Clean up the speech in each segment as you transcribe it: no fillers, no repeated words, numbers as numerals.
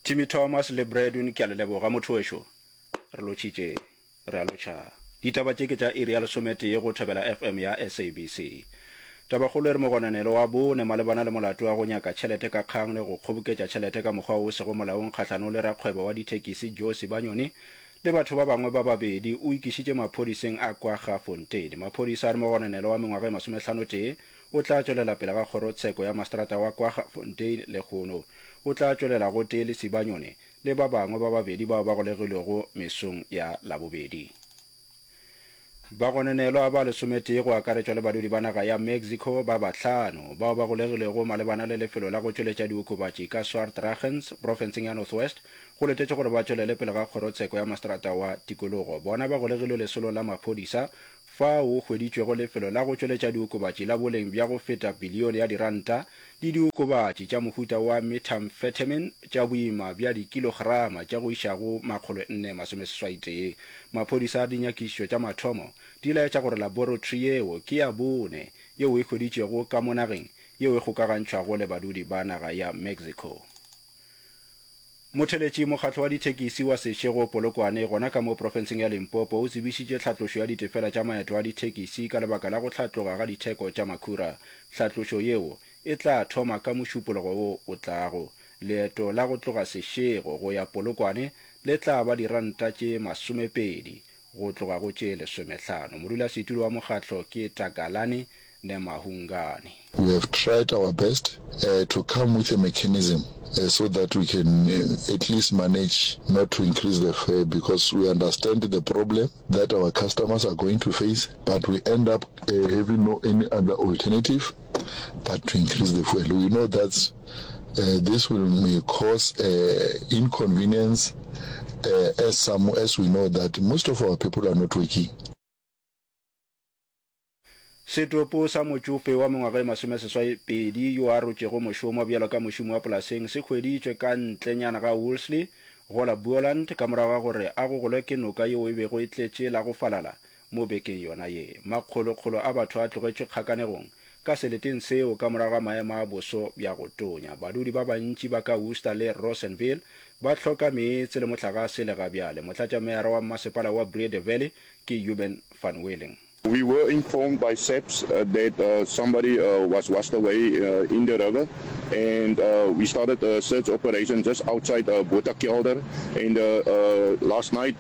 Timmy Thomas le Bradwin ke a le leboga motho wešo. Re lotšhitše, re a lotšha. Ditaba tše ke tša iri ya lesometee go Thobela FM ya SABC. Tabakgolo e re mogononelo wa bone malebana le molato wa go nyaka tšhelete ka kgang le go kgoboketša tšhelete ka mokgwa wo o sego molaong kgahlanong le rakgwebo wa dithekisi Joe Sibanyoni le batho ba bangwe ba babedi o ikišitše maphodiseng a Kwaggafontein. Maphodisa a re mogononelo wa mengwaga e masomehlano-tee o tla tšwelela pele ga kgorotsheko ya maseterata wa Kwaggafontein lehono. O tla tšwelela gotee le Sibanyoni le ba bangwe ba babedi bao ba golegilwego mesong ya Labobedi. Bagononelwa ba lesometee go akaretšwa le badudi ba naga ya Mexico ba bahlano bao ba golegilwego malebana le lefelo la go tšweletša diokobatši ka Swartruggens, profenseng ya North West, go letetšwe gore ba tšwelele pele ga kgorotsheko ya maseterata wa tikologo. Bona ba golegilwe lesolong la maphodisa fao go hweditšwego lefelo la go tšweletša diokobatši la boleng bja go feta bilione ya diranta le diokobatši tša mohuta wa methamphetamine tša boima bja dikilograma tša go iša go 481. Maphodisa a re dinyakišišo tša mathomo di laetša gore laboratory yeo ke ya bone yeo e hweditšwego ka mo nageng yeo e kgokagantšhwago le badudi ba naga ya Mexico. Motheletši Mokgatlo wa Dithekisi wa Seshego Polokwane gona ka mo profenseng ya Limpopo o tsebišitše tlhatlošo ya ditefela tša maeto a dithekisi ka lebaka la go hlatloga ga ditheko tša makhura. Tlhatlošo yeo e tla thoma ka Mošupologo wo o tlago. Leeto la go tloga Seshego go ya Polokwane le tla ba diranta tše masomepedi go tloga go tše lesomehlano. Modulasetulo wa mokgatlo ke Takalani Nemahungane. We have tried our best to come with a mechanism so that we can at least manage not to increase the fare because we understand the problem that our customers are going to face but we end up having no any other alternative but to increase the fuel. We know that this will may cause inconvenience as some as we know that most of our people are not working. Setopo sa motšofe wa mengwaga e masomeseswai-pedi yo a rotšego mošomo bjalo ka mošomi wa polaseng se hweditšwe ka ntlenyana ga Wolseley go la Boland ka morago ga gore a gogolwe ke noka yeo e bego e tletše la go falala mo bekeng yona ye. Makgolokgolo a batho a tlogetšwe kgakanegong ka seleteng seo ka morago ga maemo a boso bja go tonya. Badudi ba bantši ba ka Worcester le Rawsonville ba hloka meetse le mohlagase le ga bjale. Motlatšameyara wa mmasepala wa Breede Valley ke Euben van Wieling. We were informed by SAPS that somebody was washed away in the river and we started a search operation just outside Botha Kelder and last night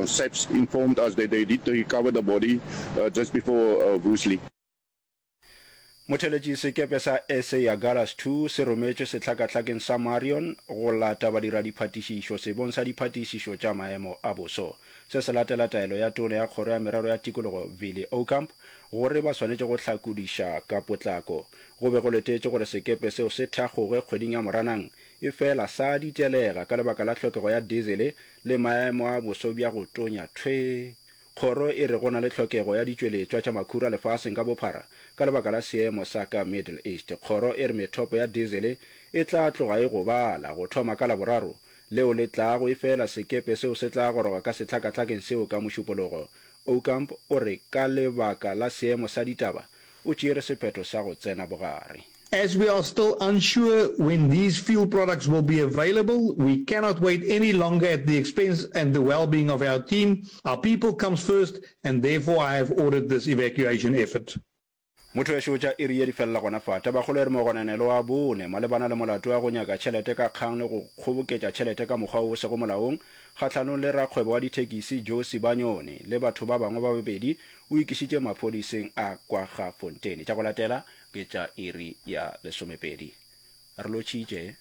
SAPS informed us that they did recover the body just before Woesley. Motheletši sekepe sa SA Agulhas 2 se rometšwe sehlakahlakeng sa Marion go lata badiradiphatišišo sebong sa diphatišišo tša maemo a boso. Se se latela taelo ya Tona ya Kgoro ya Merero ya Tikologo Vili Aucamp gore ba swanetše go hlakodiša ka potlako. Go be go letetšwe gore sekepe seo se thakgoge kgweding ya Moranang efela sa ditelega ka lebaka la hlokego ya dizele le maemo a boso bja go tonya thwee. Kgoro e re go na le tlhokego ya ditšweletšwa tša makhura lefaseng ka bophara ka lebaka la seemo sa ka Middle East. Kgoro e re methopo ya diesel e tla tloga e gobala go thoma ka Laboraro leo le tlago efela sekepe seo se tla goroga ka sehlakahlakeng seo ka Mošupologo. Aucamp o re ka lebaka la seemo sa ditaba o tšeere sephetho sa go tsena bogare. As we are still unsure when these fuel products will be available, we cannot wait any longer at the expense and the well-being of our team. Our people comes first and therefore I have ordered this evacuation effort. Motho wešo tša iri ye di felela gona fa. Tabakgolo e re mogononelo wa bone malebana le molato wa go nyaka tšhelete ka kgang le go kgoboketša tšhelete ka mokgwa wo o sego molaong kgahlanong le rakgwebo wa dithekisi Joe Sibanyoni le batho ba bangwe ba babedi o ikišitše maphodiseng a Kwaggafontein. Tša go latela ke tša iri ya lesomepedi. Re lotšhitše.